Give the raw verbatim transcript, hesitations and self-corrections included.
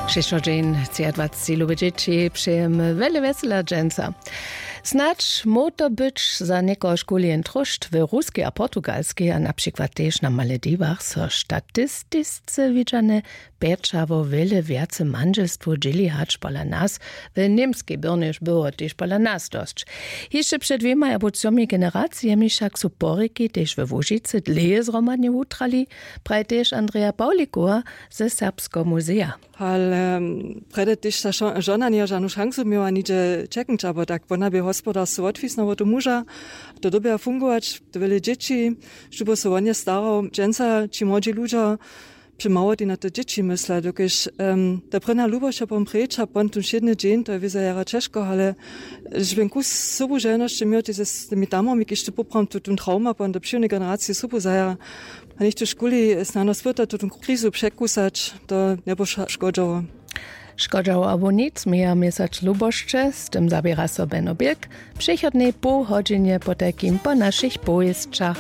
Přišło dźeń třiadwaceći lube dźěći přejemy wjele wjesela dźensa. Snadź móhł to być za někoho škuli jen tróšt w ruskej a portugalskej a na přikład tež na malediwach so statistisce widźane pjećało wjele wjace mandźelstwow dźěli hač pola nas. W němskej byrnjež było tež pola nas dosć. Hišće před dwěmaj abo třomi generacijemi wšak su porěki tež we łužicy dlěje zhromadnje wutrali, praji tež andreja pawlikowa ze serbskeho muzeja. Ale prjedy tež ta žona njeje žanu šansu měła nihdźe čeknyć abo tak wona bě hospodarstwo wotwisna wot tu muža. To dyrbja fungować to wjele dźěći, šubo so wonje starał dźensa ći młodźi ludźo při małotej na te dźěći mysla dokelž ta prěnja lubosć a pom preč a pon tón wšědny dźeń to je wězo jara ćežko ale žběn kus sobu želnosće měł ty z tymi tamami kiž ty poprawom tu tón trauma pon do přiwnej generacije sobu zajara. A něchtó škuli snano spyta tu tón krizu překusać to njebóša škodźało. Škodźało abo nic měja měsac lubosće z tym zaběra so beno bilk. Přechodnej poł hodźinje potajkim po našich powěsćach.